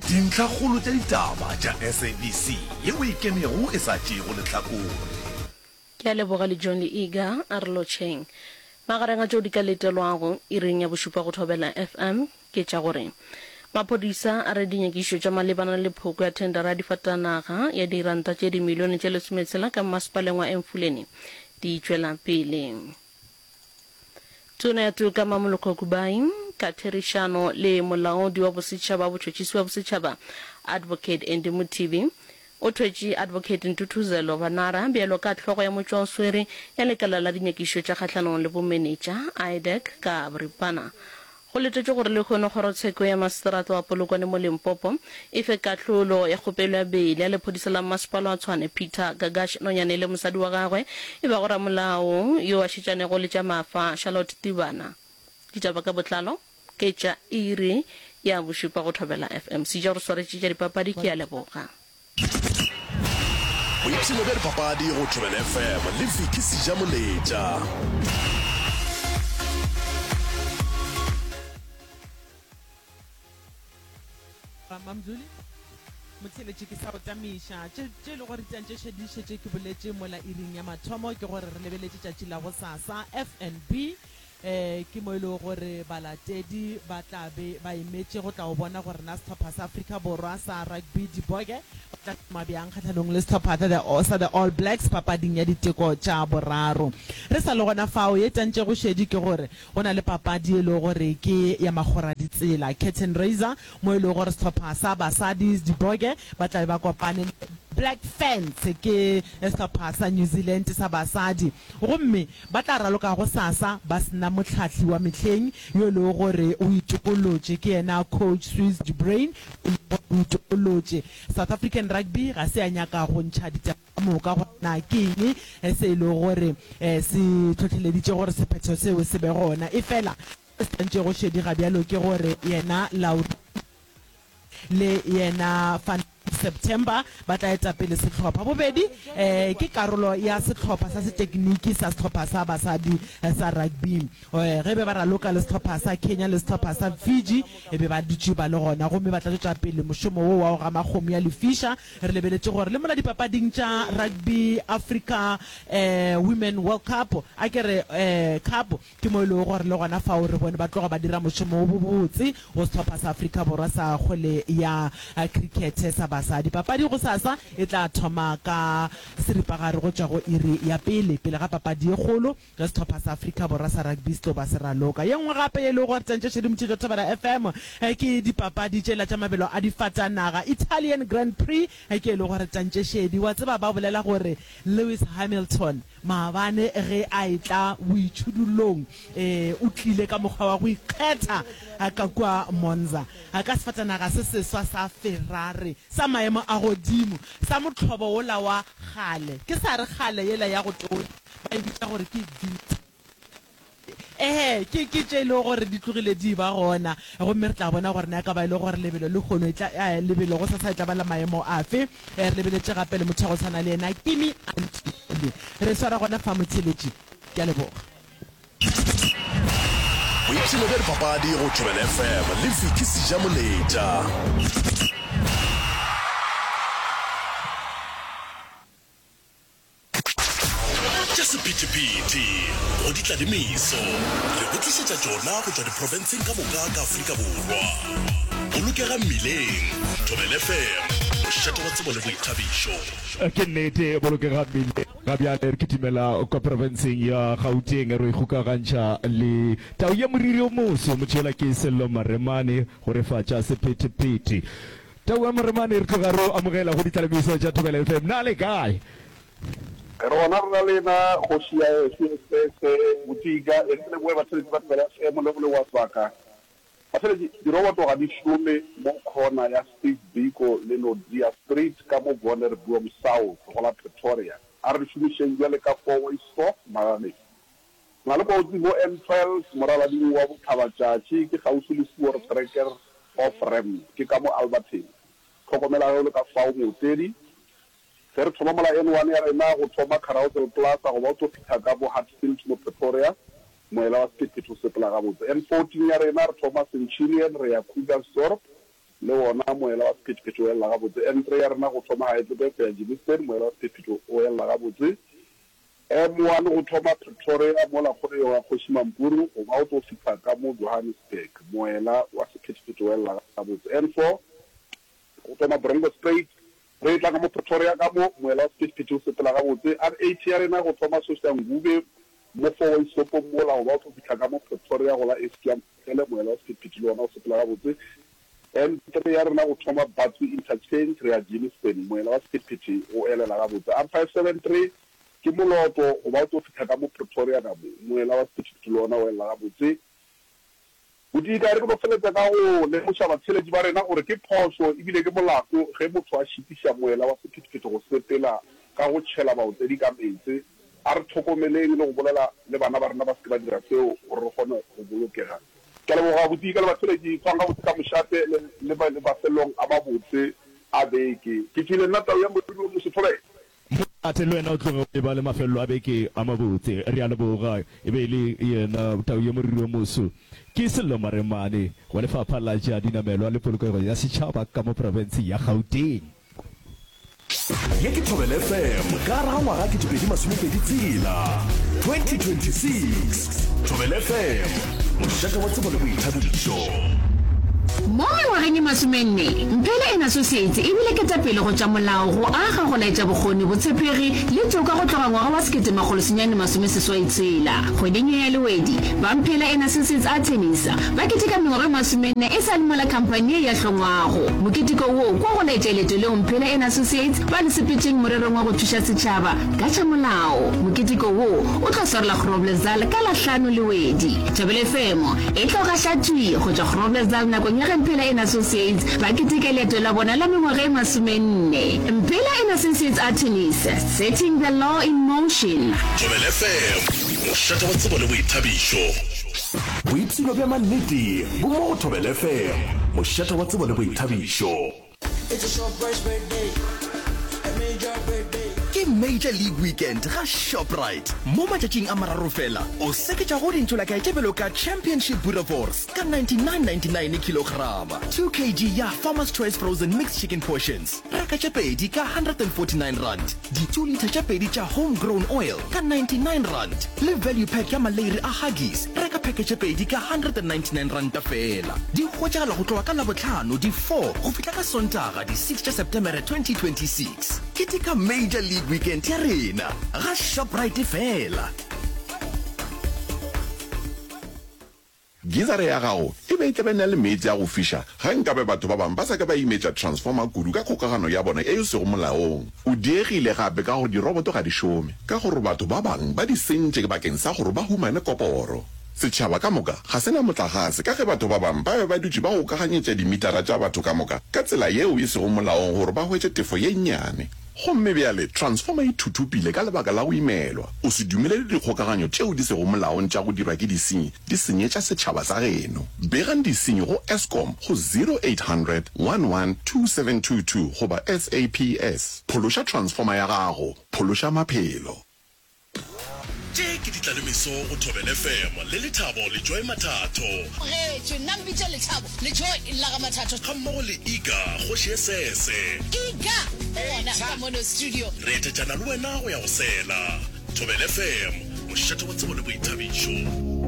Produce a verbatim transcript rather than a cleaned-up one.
Dintlhakgolo tša ditaba tša SABC yeo e kenego e sa tšeego lehlakore. Ke a leboga le John le Iga, a re lotšheng. Magareng a tšeo di ka letelwago iring ya bošupa go Thobela FM ke tša gore maphodisa a re dinyakišišo tša malebana le phoko ya thendara ya difatanaga ya diranta tše dimilione tše lesometshela ka mmasepaleng wa Emfuleni di tšwela pele. Tona ya Toka Mamoloko Kubayi ka therišano le Molaodi wa Bosetšhaba wa Botšhotšhisi bja Bosetšhaba Advocate Andy Mothibi o thwetše Advocate Ntuthuzelo Vanara bjalo ka hlogo ya motšwaoswere ya Lekala la Dinyakišišo tša Kgahlanong le Bomenetša, IDAC, ka boripana. Go letetšwe gore lehono kgorotsheko ya maseterata wa Polokwane mo Limpopo e fe kahlolo ya kgopelo ya beile ya lephodisa la mmasepala wa Tshwane Peter Gagash Nonyane le mosadi wa gagwe e bago ramolao yo a šetšanego le tša mafa Charlotte Tibana. Ditaba ka botlalo ke tša iri ya bošupa go Thobela FM. Seja o re swaretše tša dipapadi ke a leboga. Boipshino bja dipapadi go Thobela FM le Vicky Sejamoletša. Mamzuli, Motheeletši ke sa o tamiša. Tše, tše e lego gore di tša di šetše ke boletše mola iring ya mathomo ke gore re lebeletše tšatši la gosasa FNB um ke mo e lego gore balatedi ba tla be ba emetše go tla go bona gore na sehlopha sa Afrika Borwa sa rugby Diboke ba tla šoma bjang kgahlanong le sehlopha sa the All Blacks papading ya diteko tša boraro. Re sa le gona fao, ye tantšego šedi ke gore go na le papadi e lego gore ke ya makgoraditsela, curtain raiser, mo e lego gore sehlopha sa basadi Diboke ba tla be ba kopane le Black Ferns, ke sehlopha sa New Zealand sa basadi, gomme ba tla raloka gosasa ba se na mohlahli wa mehleng yo e lego gore o itokolotše, ke yena Coach Swys de Bruin, yo e lego gore o itokolotše. South African Rugby ga se ya nyaka go ntšha ditaba ka moka gore na ke eng se e lego gore se hlohleleditše gore sephetho seo se be gona, efela se se tantšego šedi gabjalo ke gore yena Laurie le yena Van September ba tla eta pele sehlopha. Bobedi ke karolo ya sehlopha sa setekniki sa sehlopha sa basadi sa rugby. Ge be ba raloka le sehlopha sa Kenya le sehlopha sa Fiji e be ba dutše ba le gona gomme ba tla tšwetša pele mošomo wo wa go gama kgomo ya lefiša. Re lebeletše gore le mola dipapading tša Rugby Africa Women World Cup, a ke re Cup, Ke mo e lego gore le gona fao re bone ba tloga ba dira mošomo wo bobotse go sehlopha sa Afrika Borwa sa kgwele ya khrikhethe sa basadi. Papadi gosasa e tla thoma ka seripagare go tšwa go iri ya pele, pele ga papadi ye kgolo ge sehlopha sa Afrika Borwa sa rugby se tlo ba se raloka. Ye nngwe gape ye e lego gore tantše šedimotšhetšo Thobela F M ke dipapadi tšela tša mabelo a difatanaga, Italian Grand Prix ke e lego gore tantše šedi. Wa tseba ba bolela gore Lewis Hamilton Maabane ge a etla boitšhudullong, ee, o tlile ka mokgwa wa go ikgetha ka kua Monza, ka sefatanaga se seswa sa Ferrari sa maemo a godimo, sa mohlobo wola wa kgale, ke sa re kgale yela ya go tonya, ba e bitša gore ke vintage. Ee, ke, ke tše e lego gore di tlogile di eba gona. Gomme re tla bona gore na e ka ba e le gore lebelo lehono e tla, eh, lebelo gosasa e tla ba la maemo afe. Eh, re lebeletše gape le motho wa go tshwana le yena, Kimi Antonelli. Re swara gona fa, motheeletši. Ke a leboga. Boipshino bja dipapadi go Thobela F M le Vicky Sejamoletša. Tša sephethephethe go di tla le meso, re go tlišetša tšona go tšwa diprofenseng ka moka ka Afrika Borwa. Bolokega mmileng, Thobela F M, mošate wa tsebo le boithabišo. Ke nnete, bolokega mmileng. Ga bjale re kitimela kwa profenseng ya Gauteng re ikgokagantšha le tau ya moriri o moso, motšhela ke Sello Maremane go re fa tša sephethephethe. Tau ya Maremane, re tloga re o amogela go ditlalemiso tša Thobela F M. Na le kae? Re gona re na lena, kgoši ya gešo Esese Botika. E re ke leboge batheeletši ba Thobela F M le go leboga sebaka. Batheeletši, diroboto ga di šome mo khona ya Steve Biko le Nodia Street ka mo Wonderboom South go la Pretoria. A re di šomišeng bjale ka four-way stop magagešu. Re na le kotsi mo N twelve moralading wa bohlabatšatši, ke kgauswi le Voortrekker off ramp, ke ka mo Alberton. Hlokomela ge o le ka fao mootledi. Ge re thoma mola N one ya rena go thoma Carousel Plaza goba o tlo fihla ka bo Hatfield mo Pretoria, moela wa sephethephethe o sepela gabotse. N fourteen ya rena re thoma Centurion re ya Krugersdorp, Le wona moela wa sephethephethe o elela gabotse. N three ya rena go thoma Heidelberg go ya Germiston, moela wa sephethephethe o elela gabotse. M one go thoma Pretoria mola kgoleyong ya Kgoši Mampuru go ba o tlo fihla ka mo Johannesburg, moela wa sephethephethe o elela gabotse. N four go thoma Bronkhorstspruit re etla ka mo Pretoria ka mo, moela wa sephethephethe o sepela gabotse. R eight ya rena go thoma Soshanguve mo four way stopong mola go ba o tlo fihla ka mo Pretoria go la Eskia Mphele, moela wa sephethephethe le wona o sepela gabotse. N three ya rena go thoma Batsi Interchange re ya Germiston, moela wa sephethephethe o elela gabotse. R five seven three ke Moloto go ba o tlo fihla ka mo Pretoria ka mo, moela wa sephethephethe le wona o elela gabotse. Bodika, re ke no feletša ka go lemoša batheeletši ba rena gore ke phošo ebile ke molato ge motho a šitiša moela wa sephethephethe go sepela ka go tšhela baotledi ka meetse. A re hlokomeleng le go bolela le bana ba rena ba se ke ba dira seo gore re kgone go bolokega. Ke a leboga Bodika le batheeletši. Tshwang gabotse ka mošate le le mafelong a mabotse a beke. Ke tšwile nna tau ya moriri wo moso thobela. Mošate le wena o tloge o eba le mafelelo a beke a mabotse. Re a leboga. E be e le yena tau ya moriri wo moso. Ke Sello Maremane wa Lefapha la tša Dinamelwa le Polokego ya Setšhaba ka mo profenseng ya Gauteng. Ye ke Thobela F M ka gare ga ngwaga ketepedi masomepedi tshela, twenty twenty six Thobela F M, mošate wa tsebo le boithabišo. Mo mengwageng e masomenne, Mphele and Associates e bile ketapele go tša molao, go aga, go laetša bokgoni, botshepegi le toka go tloga ngwaga wa sekete makgolo senyane masome seswai tshela. Kgweding ye ya Lewedi, ba Mphele and Associates Attorneys ba keteka mengwaga e masomenne e sa le mola khamphani ye ya hlongwago. Moketeko wo kwa go laetša leeto leo Mphele and Associates ba le sepetšeng morerong wa go thuša setšhaba ka tša molao. Moketeko wo o tlo swarelwa Groblersdal ka la hlano Lewedi. Thobela F M e tlo gaša thwi go tšwa Groblersdal nakong ya ge Mphela and Associates ba keteka leeto la bona la mengwaga e masomenne. Mphela and Associates Attorneys, setting the law in motion. Thobela F M, mošate wa tsebo le boithabišo. Boipshino bja mannete bo mo go Thobela F M, mošate wa tsebo le boithabišo. Ke Major League Weekend ga Shoprite. Mo matšatšing a mararo fela, o seketša go dintšolakae tše bjalo ka Championship Boerewors ka ninety-nine ninety-nine kilograma, two kg ya Farmer's Choice Frozen Mixed Chicken Portions, reka tše pedi ka hundred and forty-nine rand, di two litre tše pedi tša Home Grown Oil ka ninety-nine rand, le Value Pack ya maleiri a Huggies, reka pheke tše pedi ka hundred and ninety-nine ranta fela. Di hwetšagala go tloga ka Labohlano di four go fihla ka Sontaga di six tša Septemere twenty twenty-six. Keteka Major League Weekend ya rena ga Shoprite fela. Gizara ya gago e be e tla be e na le meetse a go fiša ge nkabe batho ba bangwe ba sa ka ba imetša transformer kudu ka kgokagano ya bona ye e sego molaong. O diegile gape ka gore diroboto ga di šome, ka gore batho ba bangwe ba di sentše bakeng sa gore ba humane koporo. Setšhaba ka moka ga se na motlagase ka ge batho ba bangwe ba be ba dutše ba gokaganyetša dimitara tša batho ka moka ka tsela yeo e sego molaong gore ba hwetše tefo ye nnyane. Gomme bjale transformer e thuthupile ka lebaka la go imelwa. O se dumelele dikgokaganyo tšeo di sego molaong tša go dirwa ke disenyi di senyetša setšhaba sa geno. Begang disenyi go Eskom go zero eight hundred one one two seven two two goba S A P S. Phološa transformer ya gago, phološa maphelo. Tše ke ditlalemeso go Thobela F M le Lethabo le Joy Mathatho. Tlogetšwe, nna mpitše Lethabo le Joy la ga Mathatho. Gammogo le Iga, kgoši ye sese. Iga o gona ka mono studio. Re etetšana le wena go ya go sela. Thobela F M, mošate wa tsebo le boithabišo.